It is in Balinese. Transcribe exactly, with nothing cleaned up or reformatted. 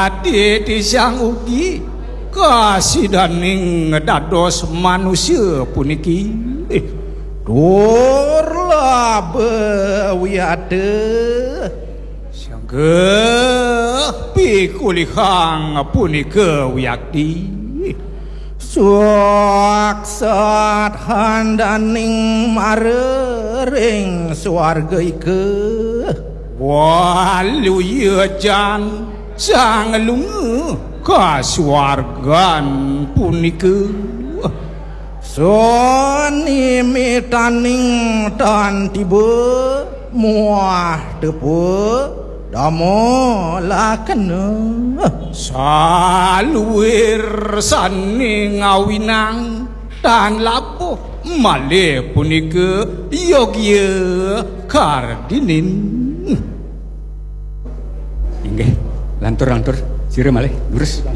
Adi disang ugi kasidaning dados manusia puniki. Tur laba wiata. Sangga pikulihang punika wiakti. Suaksat handaning mara ring suarga ika. Waluya jan sang lunga kasuargan punika. Sunimitaning tan tiba muah tepa dama lakena. Saluir sane ngawinang tan labuh malih punika yogya kardinin. Inggih, lantur-lantur. Sira malih, lurus.